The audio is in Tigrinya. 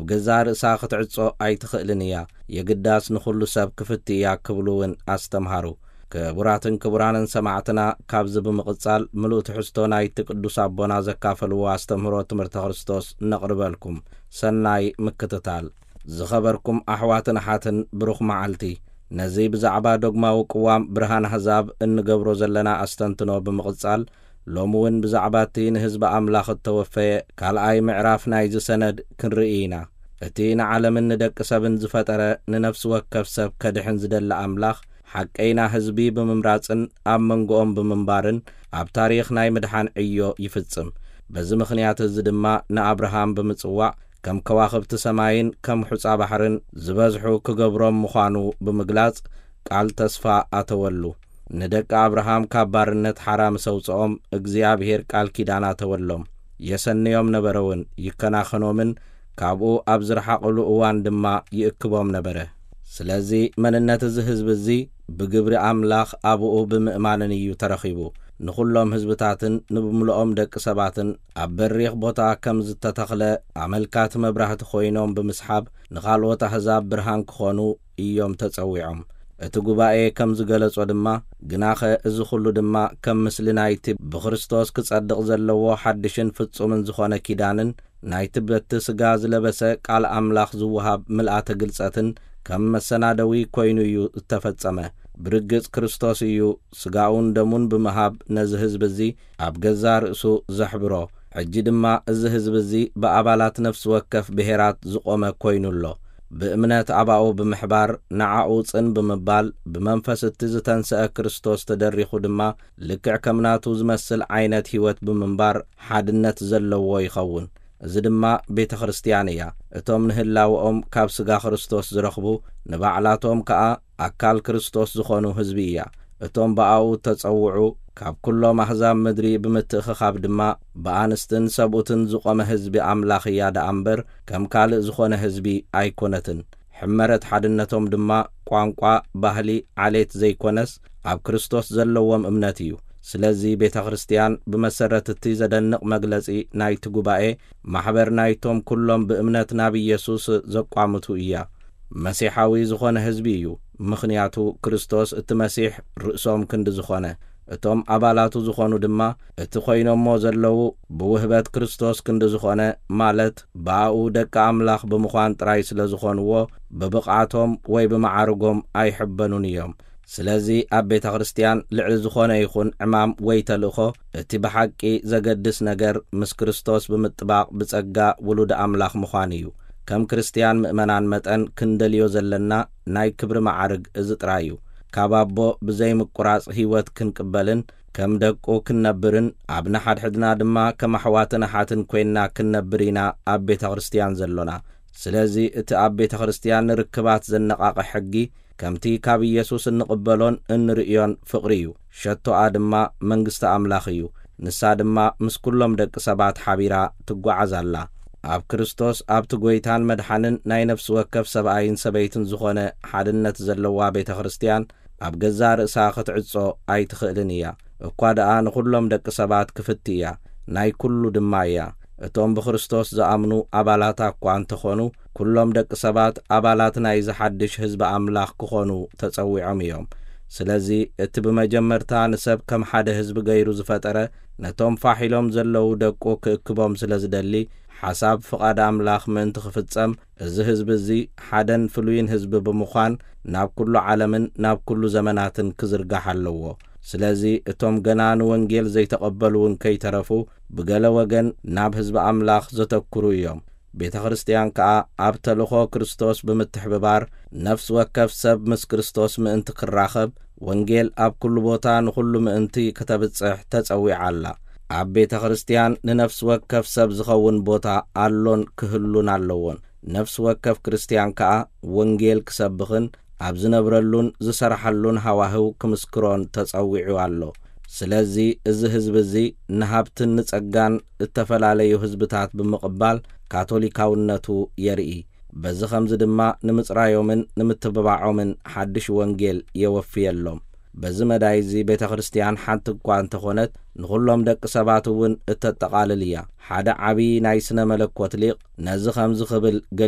ገዛ ርእሳ ክትዕጾ ኣይትኽእልን እያ። የግዳስ ንኹሉ ሰብ ክፍቲ እያ ክብሉ እውን ኣስተምሃሩ። ክቡራትን ክቡራንን ሰማዕትና፣ ካብዚ ብምቕጻል ምሉእ ትሕዝቶ ናይቲ ቅዱስ ኣቦና ዘካፈልዎ ኣስተምህሮ ትምህርተ ክርስቶስ ነቕርበልኩም። ሰናይ ምክትታል። ዝኸበርኩም ኣሕዋትን ኣሓትን፣ ብሩኽ መዓልቲ። ነዚ ብዛዕባ ዶግማዊ ቅዋም ብርሃን ኣህዛብ እንገብሮ ዘለና ኣስተንትኖ ብምቕጻል፣ ሎሚ እውን ብዛዕባ እቲ ንህዝቢ ኣምላኽ እተወፈየ ካልኣይ ምዕራፍ ናይዚ ሰነድ ክንርኢ ኢና። እቲ ንዓለምን ንደቂ ሰብን ዝፈጠረ፣ ንነፍሲ ወከፍ ሰብ ከድሕን ዝደሊ ኣምላኽ፣ ሓቀይና ህዝቢ ብምምራጽን ኣብ መንጎኦም ብምንባርን፣ ኣብ ታሪኽ ናይ ምድሓን ዕዮ ይፍጽም። በዚ ምኽንያት እዚ ድማ ንኣብርሃም ብምጽዋዕ፣ ከም ከዋኽብቲ ሰማይን ከም ሑጻ ባሕርን ዝበዝሑ ክገብሮም ምዃኑ ብምግላጽ፣ ቃል ተስፋ ኣተወሉ። ንደቂ ኣብርሃም ካብ ባርነት ሓራ ምስ ኣውጽኦም፣ እግዚኣብሄር ቃል ኪዳን ኣተወሎም። የሰንዮም ነበረ እውን፣ ይከናኸኖምን ካብኡ ኣብ ዝረሓቕሉ እዋን ድማ ይእክቦም ነበረ። ስለዚ መንነት እዚ ህዝቢ እዚ ብግብሪ ኣምላኽ ኣብኡ ብምእማንን እዩ ተረኺቡ። ንኹሎም ህዝብታትን ንብምልኦም ደቂ ሰባትን ኣብ በሪኽ ቦታ ከም ዝተተኽለ ኣመልካቲ መብራህቲ ኮይኖም ብምስሓብ፣ ንኻልኦት ኣህዛብ ብርሃን ክኾኑ እዮም ተጸዊዖም። እቲ ጉባኤ ከም ዝገለጾ ድማ፣ ግናኸ እዚ ኹሉ ድማ ከም ምስሊ ናይቲ ብክርስቶስ ክጸድቕ ዘለዎ ሓድሽን ፍጹምን ዝኾነ ኪዳንን ናይቲ በቲ ስጋ ዝለበሰ ቃል ኣምላኽ ዝወሃብ ምልኣተ ግልጸትን ከም መሰናደዊ ኮይኑ እዩ እተፈጸመ። ብርግጽ ክርስቶስ እዩ ስጋኡን ደሙን ብምሃብ ነዚ ህዝቢ እዚ ኣብ ገዛ ርእሱ ዘሕብሮ። ሕጂ ድማ እዚ ህዝቢ እዚ ብኣባላት ነፍሲ ወከፍ ብሄራት ዝቖመ ኮይኑ ኣሎ። ብእምነት ኣባኡ ብምሕባር፣ ንዓኡ ጽን ብምባል፣ ብመንፈስ እቲ ዝተንስአ ክርስቶስ ተደሪኹ ድማ ልክዕ ከም ናቱ ዝመስል ዓይነት ህይወት ብምንባር ሓድነት ዘለዎ ይኸውን። እዚ ድማ ቤተ ክርስቲያን እያ። እቶም ንህላወኦም ካብ ስጋ ክርስቶስ ዝረኽቡ፣ ንባዕላቶም ከኣ ኣካል ክርስቶስ ዝኾኑ ህዝቢ እያ። እቶም ብኣኡ እተጸውዑ፣ ካብ ኩሎም ኣህዛብ ምድሪ ብምትእኽኻብ ድማ ብኣንስትን ሰብኡትን ዝቖመ ህዝቢ ኣምላኽ እያ ደኣ እምበር፣ ከም ካልእ ዝኾነ ህዝቢ ኣይኮነትን። ሕመረት ሓድነቶም ድማ ቋንቋ፣ ባህሊ፣ ዓሌት ዘይኮነስ፣ ኣብ ክርስቶስ ዘለዎም እምነት እዩ። ስለዚ ቤተ ክርስቲያን ብመሰረት እቲ ዘደንቕ መግለጺ ናይቲ ጉባኤ፣ ማሕበር ናይቶም ኩሎም ብእምነት ናብ ኢየሱስ ዘቋምቱ እያ። መሲሓዊ ዝኾነ ህዝቢ እዩ፣ ምኽንያቱ ክርስቶስ እቲ መሲሕ ርእሶም ክንዲ ዝኾነ። እቶም ኣባላቱ ዝኾኑ ድማ እቲ ኮይኖሞ ዘለዉ ብውህበት ክርስቶስ ክንዲ ዝኾነ፣ ማለት ብኣኡ ደቂ ኣምላኽ ብምዃን ጥራይ ስለ ዝኾንዎ፣ ብብቕዓቶም ወይ ብመዓርጎም ኣይሕበኑን እዮም። ስለዚ ኣብ ቤተ ክርስቲያን ልዕሊ ዝኾነ ይኹን ዕማም ወይ ተልእኾ፣ እቲ ብሓቂ ዘገድስ ነገር ምስ ክርስቶስ ብምጥባቕ ብጸጋ ውሉድ ኣምላኽ ምዃን እዩ። ከም ክርስቲያን ምእመናን መጠን ክንደልዮ ዘለና ናይ ክብሪ መዓርግ እዚ ጥራይ እዩ። ካብ ኣቦ ብዘይ ምቁራጽ ህይወት ክንቅበልን ከም ደቁ ክንነብርን፣ ኣብ ንሓድሕድና ድማ ከም ኣሕዋትን ኣሓትን ኮይንና ክንነብር ኢና ኣብ ቤተ ክርስቲያን ዘሎና። ስለዚ እቲ ኣብ ቤተ ክርስቲያን ንርክባት ዘነቓቕሕ ሕጊ፣ ከምቲ ካብ ኢየሱስ እንቕበሎን እንርእዮን ፍቕሪ እዩ። ሸቶኣ ድማ መንግስቲ ኣምላኽ እዩ። ንሳ ድማ ምስ ኩሎም ደቂ ሰባት ሓቢራ ትጓዓዝ ኣላ። ኣብ ክርስቶስ፣ ኣብቲ ጐይታን መድሓንን ናይ ነፍሲ ወከፍ ሰብኣይን ሰበይትን ዝኾነ ሓድነት ዘለዋ ቤተ ክርስቲያን፣ ኣብ ገዛእ ርእሳ ክትዕጾ ኣይትኽእልን እያ። እኳ ደኣ ንኹሎም ደቂ ሰባት ክፍቲ እያ፣ ናይ ኩሉ ድማ እያ። እቶም ብክርስቶስ ዝኣምኑ ኣባላታ እኳ እንተኾኑ፣ ኩሎም ደቂ ሰባት ኣባላት ናይዚ ሓድሽ ህዝቢ ኣምላኽ ክኾኑ ተጸዊዖም እዮም። ስለዚ እቲ ብመጀመርታ ንሰብ ከም ሓደ ህዝቢ ገይሩ ዝፈጠረ፣ ነቶም ፋሕ ኢሎም ዘለዉ ደቁ ክእክቦም ስለ ዝደሊ፣ ሓሳብ ፍቓድ ኣምላኽ ምእንቲ ክፍጸም፣ እዚ ህዝቢ እዚ ሓደን ፍሉይን ህዝቢ ብምዃን ናብ ኩሉ ዓለምን ናብ ኩሉ ዘመናትን ክዝርጋሕ ኣለዎ። ስለዚ እቶም ገና ንወንጌል ዘይተቐበሉ እውን ከይተረፉ፣ ብገለ ወገን ናብ ህዝቢ ኣምላኽ ዘተኩሩ እዮም። ቤተ ክርስቲያን ከኣ ኣብ ተልእኾ ክርስቶስ ብምትሕብባር፣ ነፍሲ ወከፍ ሰብ ምስ ክርስቶስ ምእንቲ ክራኸብ፣ ወንጌል ኣብ ኩሉ ቦታ ንኹሉ ምእንቲ ከተብጽሕ ተጸዊዓ ኣላ። ኣብ ቤተ ክርስቲያን ንነፍሲ ወከፍ ሰብ ዝኸውን ቦታ ኣሎን ክህሉን ኣለዎን። ነፍሲ ወከፍ ክርስቲያን ከኣ ወንጌል ክሰብኽን ኣብ ዝነብረሉን ዝሰርሓሉን ሃዋህው ክምስክሮን ተጸዊዑ ኣሎ። ስለዚ እዚ ህዝቢ እዚ ንሃብትን ንጸጋን እተፈላለዩ ህዝብታት ብምቕባል ካቶሊካውነቱ የርኢ። በዚ ኸምዚ ድማ ንምጽራዮምን ንምትብባዖምን ሓድሽ ወንጌል የወፍየሎም። በዚ መዳይ እዚ ቤተ ክርስቲያን ሓንቲ እኳ እንተኾነት፣ ንኹሎም ደቂ ሰባት እውን እተጠቓልል እያ። ሓደ ዓብዪ ናይ ስነ መለኮት ሊቕ ነዚ ኸምዚ ክብል ገሊጹ።